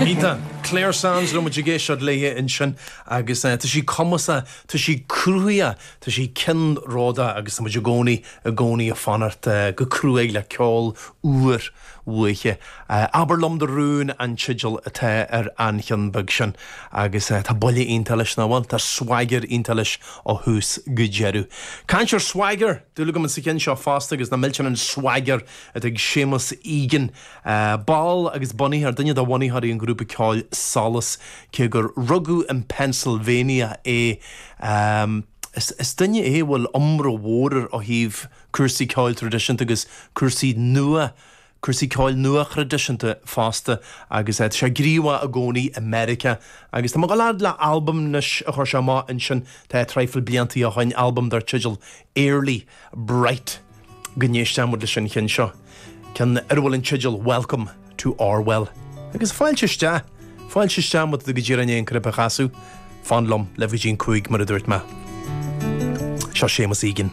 Iontach. Clare Sands a raibh muid ag éisteacht léi ansin agus tá sí cumasach, tá sí cruthaitheach, tá sí ceannródaíoch agus tá muid i gcónaí, i gcónaí ag fanacht go cruaidh le ceol úr uaithi. Abair Liom Do Rún an teideal atá ar an cheann beag sin agus tá buille iontach leis, nach bhfuil? Tá swagger iontach leis ó thús go deireadh. Caint ar swagger, dúil agam sa cheann seo fosta agus nach millteanach an swagger atá ag Séamus Egan, ball agus bunaitheoir, duine de bhunaitheoirí an ghrúpa ceoil Solas, cé gur rugadh in Pennsylvania é. Is duine é a bhfuil iomrá mhór air ó thaobh cúrsaí ceoil traidisiúnta agus cúrsaí nua, cúrsaí ceoil nua-thraidisiúnta fosta agus tá sé gníomhach i gcónaí i Meiriceá agus tá mé ag dul fhad le albam anois a chuir sé amach ansin, tá traidhfil bliantaí ó shoin, albam dar teideal Early Bright. Go n-éistfidh muid leis an cheann seo, ceann ar a bhfuil an teideal Welcome to Orwell. Agus fáilte isteach, fáilte isteach má tá tú go díreach i ndiaidh an cnaipe a chasadh, fan liom, libh go dtí an 5 mar a dúirt mé. Seo Séamus Egan.